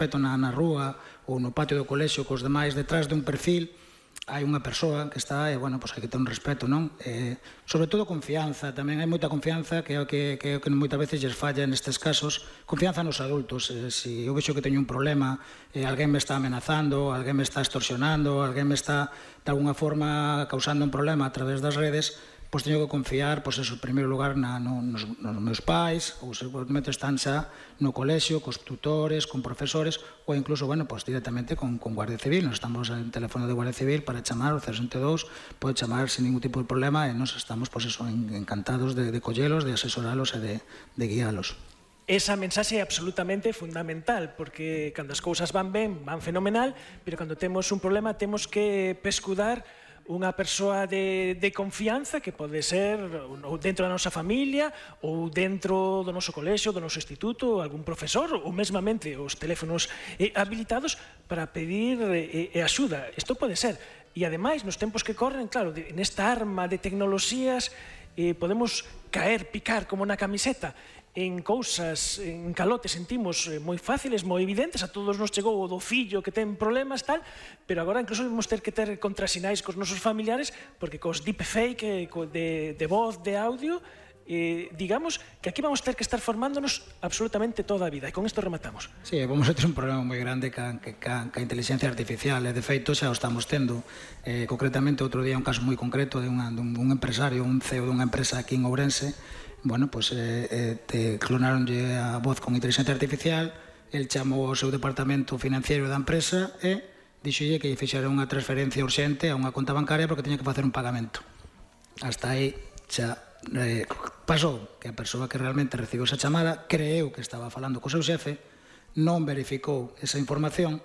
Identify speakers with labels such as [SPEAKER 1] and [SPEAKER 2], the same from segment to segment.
[SPEAKER 1] respeto na rúa ou no patio do colexio cos demais detrás dun perfil, hai unha persoa que está, bueno, pois hai que ter un respeto, non? Sobre todo confianza, tamén hai moita confianza que é o que moitas veces lles falla nestes casos, confianza nos adultos. Se eu vexo que teño un problema, alguén me está amenazando, alguén me está extorsionando, alguén me está de alguna forma causando un problema a través das redes, pois teño que confiar, pois eso, en primeiro lugar nos meus pais, ou seguramente están xa no colexio, cos tutores, con profesores, ou incluso, bueno, pois directamente con Guardia Civil. Nos estamos en teléfono de Guardia Civil para chamar o 062, pode chamar sin ningún tipo de problema e nos estamos, pois eso, encantados de collelos, de asesoralos e de guialos.
[SPEAKER 2] Esa mensaxe é absolutamente fundamental, porque cando as cousas van ben, van fenomenal, pero cando temos un problema temos que pescudar unha persoa de confianza que pode ser dentro da nosa familia ou dentro do noso colexio, do noso instituto, algún profesor ou mesmamente os teléfonos habilitados para pedir axuda. Isto pode ser. E ademais, nos tempos que corren, claro, nesta arma de tecnoloxías podemos caer, picar como na camiseta en cousas, en calotes sentimos moi fáciles, moi evidentes, a todos nos chegou o do fillo que ten problemas, tal, pero agora incluso vamos ter que ter contrasinais cos nosos familiares, porque cos deepfake de voz, de audio, digamos que aquí vamos ter que estar formándonos absolutamente toda a vida, e con isto rematamos.
[SPEAKER 1] Sí, vamos a ter un problema moi grande ca inteligencia artificial, e de feito xa o estamos tendo. Concretamente, outro día un caso moi concreto de un empresario, un CEO dunha empresa aquí en Ourense. Bueno, pois clonaronlle a voz con inteligencia artificial, el chamou ao seu departamento financiero da empresa e dixolle que lle fixera unha transferencia urxente a unha conta bancaria porque tiña que facer un pagamento. Hasta aí xa pasou que a persoa que realmente recibiu esa chamada creeu que estaba falando co seu xefe, non verificou esa información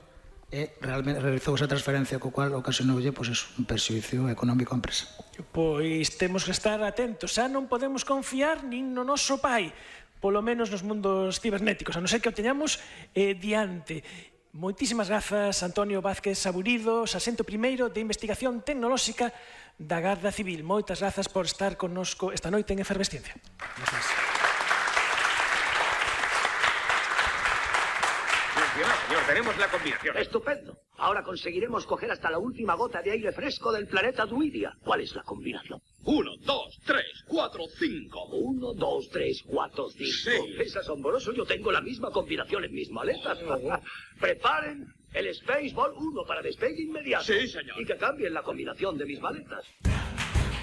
[SPEAKER 1] e realmente realizou esa transferencia, co cual ocasionoulle un perxuízo económico á empresa.
[SPEAKER 2] Pois temos que estar atentos, xa non podemos confiar nin no noso pai, polo menos nos mundos cibernéticos, a non ser que o teñamos diante. Moitísimas grazas, Antonio Vázquez Saburido, sarxento primeiro de Investigación Tecnolóxica da Garda Civil. Moitas grazas por estar connosco esta noite en Efervesciencia. Gracias.
[SPEAKER 3] Señor, tenemos la combinación.
[SPEAKER 4] Estupendo. Ahora conseguiremos coger hasta la última gota de aire fresco del planeta Druidia. ¿Cuál es la combinación?
[SPEAKER 3] 1, 2, 3, 4, 5.
[SPEAKER 4] 1, 2, 3, 4, 5.
[SPEAKER 3] Sí.
[SPEAKER 4] Es asombroso, yo tengo la misma combinación en mis maletas. Preparen el Spaceball 1 para despegue inmediato.
[SPEAKER 3] Sí, señor.
[SPEAKER 4] Y que cambien la combinación de mis maletas.